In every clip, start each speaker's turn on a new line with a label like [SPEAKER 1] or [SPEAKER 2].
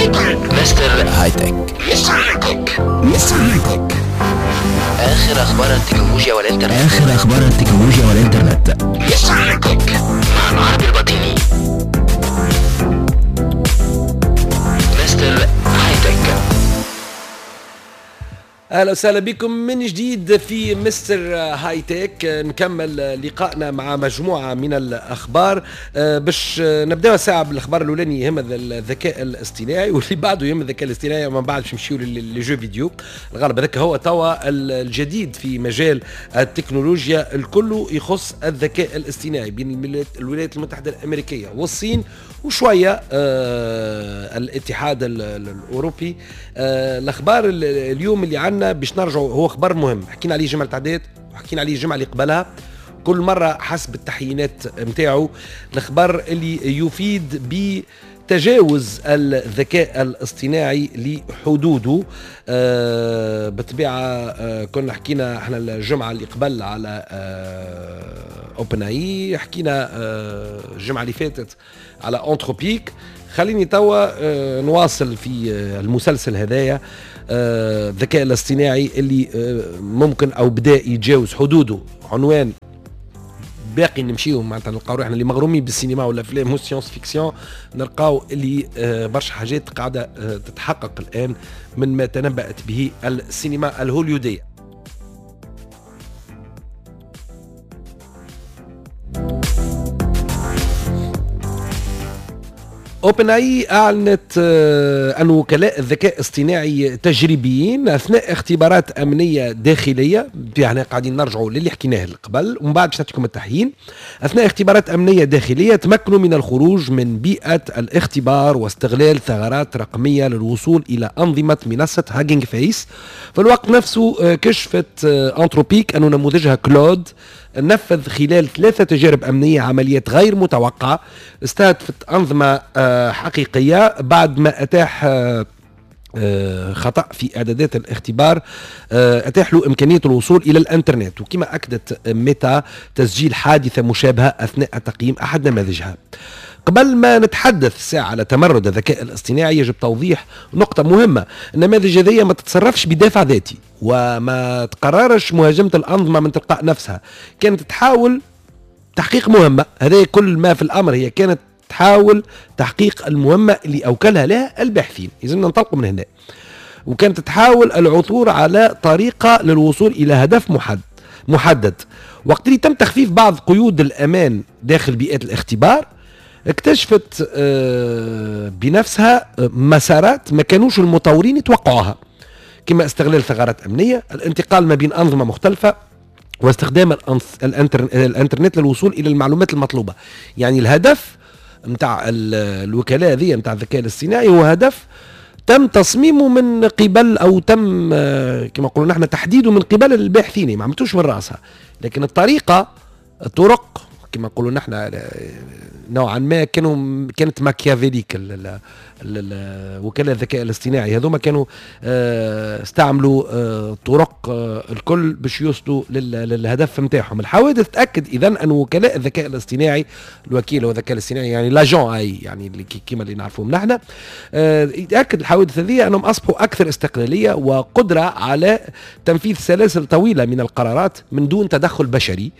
[SPEAKER 1] Mister High Tech. Mister High-Tech، اخر اخبار التكنولوجيا والانترنت. اخر اخبار التكنولوجيا والانترنت. Mister High-Tech مع العربي البطيني. Mister High-Tech.
[SPEAKER 2] اهلا وسهلا بكم من جديد في Mister High-Tech. نكمل لقائنا مع مجموعة من الاخبار. باش نبداو ساعة بالاخبار الاولاني يهم الذكاء الاصطناعي، واللي بعده يهم الذكاء الاصطناعي، ومن بعد باش نمشيو les jeux vidéo. الغالب هذاك هو توا الجديد في مجال التكنولوجيا، الكل يخص الذكاء الاصطناعي بين الولايات المتحدة الامريكية والصين وشوية الاتحاد الاوروبي. الاخبار اليوم اللي عندنا باش نرجعوا هو خبر مهم حكينا عليه الجمعة التعديت وحكينا عليه الجمعة اللي قبلها، كل مرة حسب التحيينات نتاعو. الخبر اللي يفيد بتجاوز الذكاء الاصطناعي لحدوده. بالطبيعة كنا حكينا احنا الجمعة اللي قبل على OpenAI، حكينا الجمعة اللي فاتت على Anthropic. خليني توا نواصل في المسلسل هذايا، الذكاء الاصطناعي اللي ممكن او بدا يتجاوز حدوده. عنوان باقي نمشيو معناتها نلقاو روحنا اللي مغرومين بالسينما والافلام وال science-fiction، نلقاو اللي برشا حاجات قاعدة تتحقق الان من ما تنبأت به السينما الهوليوديه. OpenAI اعلنت ان وكلاء الذكاء الاصطناعي تجريبيين اثناء اختبارات امنية داخلية، يعني قاعدين نرجعوا للي حكيناه قبل ومن بعد باش نعطيكم التحيين. اثناء اختبارات امنية داخلية تمكنوا من الخروج من بيئة الاختبار واستغلال ثغرات رقمية للوصول الى انظمة منصة Hugging Face. في الوقت نفسه كشفت Anthropic ان نموذجها Claude نفذ خلال 3 تجارب أمنية عمليات غير متوقعة استهدفت أنظمة حقيقية بعد ما أتاح خطأ في إعدادات الاختبار أتاح له إمكانية الوصول إلى الإنترنت. وكما أكدت ميتا تسجيل حادثة مشابهة أثناء تقييم أحد نماذجها. قبل ما نتحدث ساعة على تمرد الذكاء الاصطناعي يجب توضيح نقطة مهمة: النماذج هذه ما تتصرفش بدافع ذاتي وما تقررش مهاجمة الأنظمة من تلقاء نفسها، كانت تحاول تحقيق مهمة. هذا كل ما في الأمر، هي كانت تحاول تحقيق المهمة اللي أوكلها لها الباحثين، لازم ننطلق من هنا. وكانت تحاول العثور على طريقة للوصول إلى هدف محدد. وقت اللي تم تخفيف بعض قيود الأمان داخل بيئات الاختبار، اكتشفت بنفسها مسارات ما كانوش المطورين يتوقعوها، كما استغلال ثغرات أمنية، الانتقال ما بين أنظمة مختلفة، واستخدام الانترنت للوصول إلى المعلومات المطلوبة. يعني الهدف متاع الوكلاء هذه متاع الذكاء الاصطناعي هو هدف تم تصميمه من قبل، أو تم كما نقولوا نحن تحديده من قبل الباحثين، ما عملتوش من رأسها، لكن الطريقة، الطرق كما نقولوا نحن نوعا ما كانت machiavélique. وكلاء الذكاء الاصطناعي هذوما كانوا استعملوا طرق الكل باش يوصلوا للهدف نتاعهم. الحوادث تاكد اذا ان وكلاء الذكاء الاصطناعي، الوكيل هو الذكاء الاصطناعي يعني l'agent AI، يعني اللي كما اللي نعرفوهم نحن، يتاكد الحوادث هذه انهم اصبحوا اكثر استقلالية وقدره على تنفيذ سلاسل طويلة من القرارات من دون تدخل بشري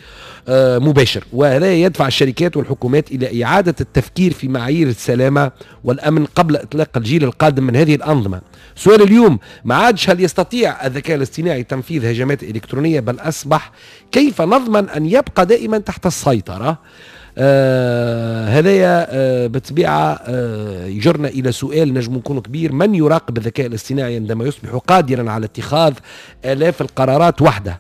[SPEAKER 2] مباشر. وهذا يدفع الشركات والحكومات إلى إعادة التفكير في معايير السلامة والأمن قبل إطلاق الجيل القادم من هذه الأنظمة. سؤال اليوم ما عادش هل يستطيع الذكاء الاصطناعي تنفيذ هجمات إلكترونية، بل أصبح كيف نضمن أن يبقى دائما تحت السيطرة. هذايا بالطبيعة يجرنا إلى سؤال نجم يكون كبير: من يراقب الذكاء الاصطناعي عندما يصبح قادرا على اتخاذ آلاف القرارات وحده؟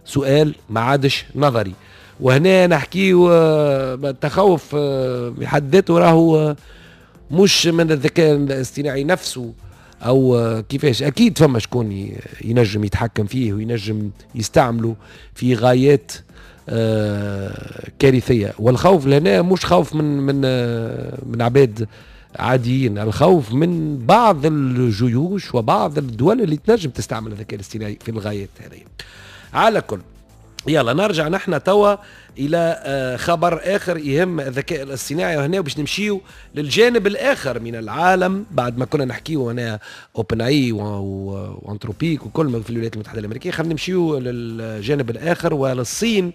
[SPEAKER 2] سؤال ما عادش نظري. وهنا نحكيو التخوف بحد ذاته راهو مش من الذكاء الاصطناعي نفسه او كيفاش، اكيد فما شكون ينجم يتحكم فيه وينجم يستعمله في غايات كارثية. والخوف لهنا مش خوف من من من عباد عاديين، الخوف من بعض الجيوش وبعض الدول اللي تنجم تستعمل الذكاء الاصطناعي في الغايات هذه. على كل يلا نرجع نحن توا الى خبر اخر يهم الذكاء الاصطناعي، وهنا باش نمشيو للجانب الاخر من العالم بعد ما كنا نحكيو هنا OpenAI و Anthropic وكل ما في الولايات المتحدة الامريكيه. خلينا نمشيو للجانب الاخر وللصين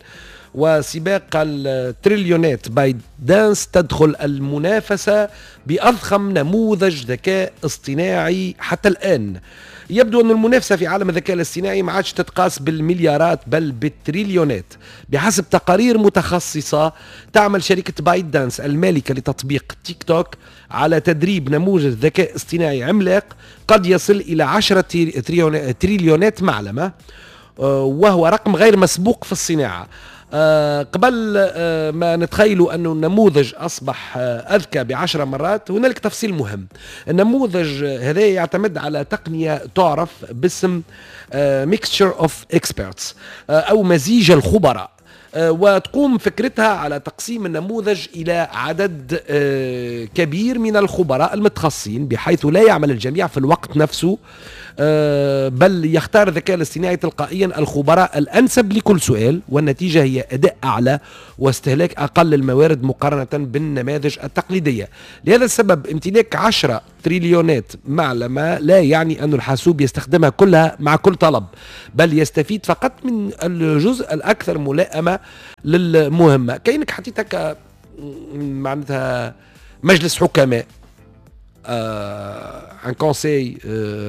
[SPEAKER 2] وسباق التريليونات. ByteDance تدخل المنافسة بأضخم نموذج ذكاء اصطناعي حتى الآن. يبدو أن المنافسة في عالم الذكاء الاصطناعي ما عادش تتقاس بالمليارات بل بالتريليونات. بحسب تقارير متخصصة، تعمل شركة ByteDance المالكة لتطبيق تيك توك على تدريب نموذج ذكاء اصطناعي عملاق قد يصل إلى 10 تريليونات معلمة، وهو رقم غير مسبوق في الصناعة. قبل ما نتخيلوا أنه النموذج أصبح أذكى ب10 مرات، هنالك تفصيل مهم. النموذج هذا يعتمد على تقنية تعرف باسم mixture of experts أو مزيج الخبراء، وتقوم فكرتها على تقسيم النموذج إلى عدد كبير من الخبراء المتخصصين، بحيث لا يعمل الجميع في الوقت نفسه، بل يختار الذكاء الاصطناعي تلقائيا الخبراء الأنسب لكل سؤال، والنتيجة هي أداء أعلى واستهلاك أقل للموارد مقارنة بالنماذج التقليدية. لهذا السبب امتلاك 10 تريليونات معلمة لا يعني أن الحاسوب يستخدمها كلها مع كل طلب، بل يستفيد فقط من الجزء الأكثر ملائمة للمهمة. كأنك حطيت هكا معناتها مجلس حكماء، un conseil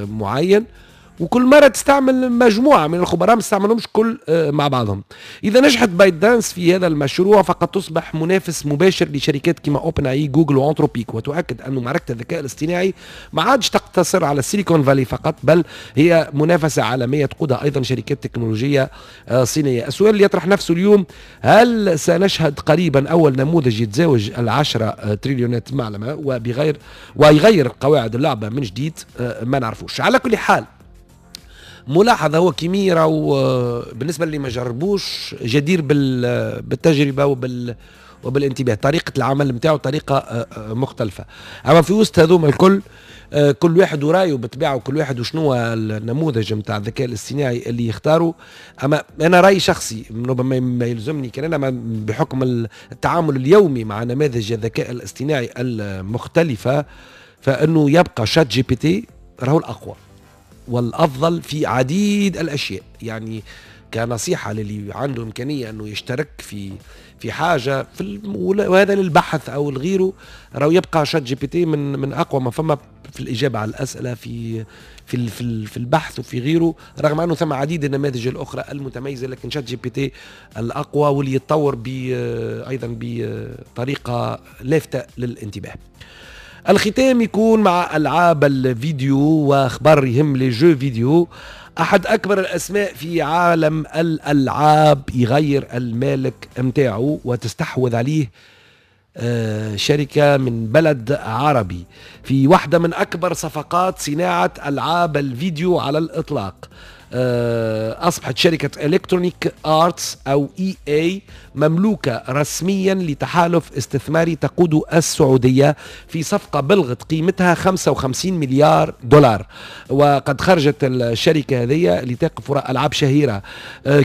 [SPEAKER 2] معين، وكل مرة تستعمل مجموعة من الخبراء، ما تستعملهمش كل مع بعضهم. اذا نجحت ByteDance في هذا المشروع فقد تصبح منافس مباشر لشركات كما OpenAI، Google و Anthropic، وتؤكد ان معركة الذكاء الاصطناعي ما عادش تقتصر على السيليكون فالي فقط، بل هي منافسه عالمية تقودها ايضا شركات تكنولوجية صينيه. السؤال اللي يطرح نفسه اليوم: هل سنشهد قريبا اول نموذج يتجاوز ال10 تريليونات معلمه وبغير ويغير قواعد اللعبة من جديد؟ ما نعرفوش. على كل حال، ملاحظة: هو Kimi راهو بالنسبة اللي ما جربوش جدير بالتجربة وبالانتباه. طريقة العمل نتاعو طريقة مختلفة. أما في وسط هذوما الكل، كل واحد ورايه بالطبيعة، وكل واحد وشنو النموذج نتاع الذكاء الاصطناعي اللي يختاره. اما انا راي شخصي، ربما ما يلزمني كان انا، بحكم التعامل اليومي مع نماذج الذكاء الاصطناعي المختلفه، فانه يبقى ChatGPT راهو الاقوى والافضل في عديد الاشياء. يعني كنصيحه للي عنده امكانية انه يشترك في حاجة وهذا للبحث او لغيره، راهو يبقى ChatGPT من اقوى ما فما في الاجابة على الاسئله، في البحث وفي غيره، رغم انه ثم عديد النماذج الاخرى المتميزه، لكن ChatGPT الاقوى واللي يتطور ايضا بطريقة لافته للانتباه. الختام يكون مع العاب الفيديو واخبار يهم les jeux vidéo. احد اكبر الاسماء في عالم الالعاب يغير المالك متاعه وتستحوذ عليه شركة من بلد عربي في واحدة من أكبر صفقات صناعة ألعاب الفيديو على الإطلاق. أصبحت شركة Electronic Arts أو EA مملوكة رسميا لتحالف استثماري تقود السعودية في صفقة بلغت قيمتها 55 مليار دولار. وقد خرجت الشركة هذه اللي تقف وراء ألعاب شهيرة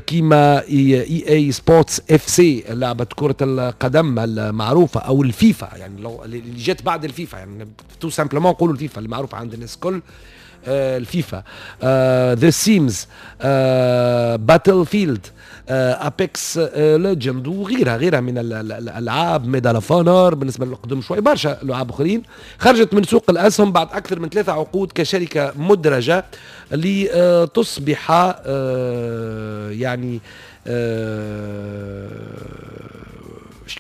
[SPEAKER 2] كيما EA Sports FC، لعبة كرة القدم المعروفة، أو الفيفا، يعني لو اللي جت بعد الفيفا، يعني tout simplement نقولوا الفيفا المعروفة عند الناس الكل، الفيفا، The Sims، Battlefield، Apex Legends وغيرها غيرها من الالعاب، Medal of Honor بالنسبة للقدم شوي، برشا العاب اخرين. خرجت من سوق الاسهم بعد اكثر من 3 عقود كشركة مدرجة لتصبح يعني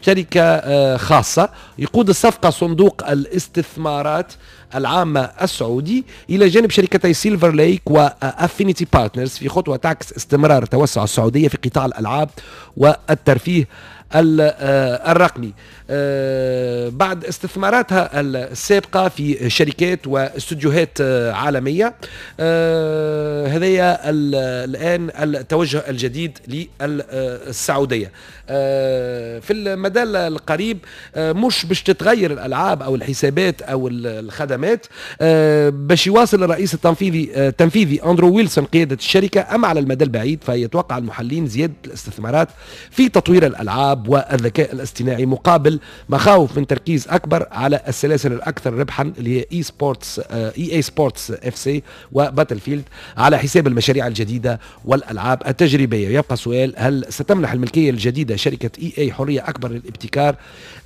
[SPEAKER 2] شركة خاصة. يقود الصفقة صندوق الاستثمارات العامة السعودي إلى جانب شركتي Silver Lake و Affinity Partners، في خطوة تعكس استمرار توسع السعودية في قطاع الألعاب والترفيه الرقمي. بعد استثماراتها السابقة في شركات واستوديوهات عالمية، هذايا الآن التوجه الجديد للسعودية. في المدى القريب مش باش تتغير الألعاب أو الحسابات أو الخدمات، باش يواصل الرئيس التنفيذي أندرو ويلسون قيادة الشركة. أما على المدى البعيد فيتوقع المحللين زيادة الاستثمارات في تطوير الألعاب والذكاء الاصطناعي، مقابل مخاوف من تركيز أكبر على السلاسل الأكثر ربحا اللي هي EA Sports FC و Battlefield على حساب المشاريع الجديدة والألعاب التجريبية. يبقى سؤال: هل ستمنح الملكية الجديدة شركة EA حرية أكبر للابتكار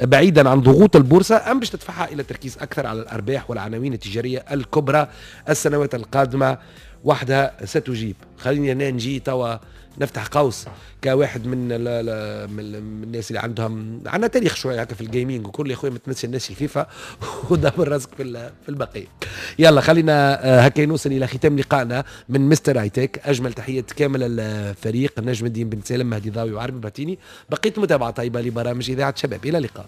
[SPEAKER 2] بعيدا عن ضغوط البورصة، أم باش تدفعها إلى تركيز أكثر على الأرباح والعناوين التجارية الكبرى؟ السنوات القادمة وحدها ستجيب. خليني هنا نجي توا نفتح قوس كواحد من الناس اللي عندهم عندنا تاريخ شوية هكا في ال gaming وكل. يا خويا ما تنسى الناس الفيفا ودبر راسك في البقيه. يلا خلينا هكا نوصل الى ختام لقائنا من Mister Hi-Tech. اجمل تحية كامل الفريق، نجم الدين بن سالم، مهدي ضاوي، وعربي باتيني. بقيت متابعه طيبة لبرامج اذاعة شباب. الى اللقاء.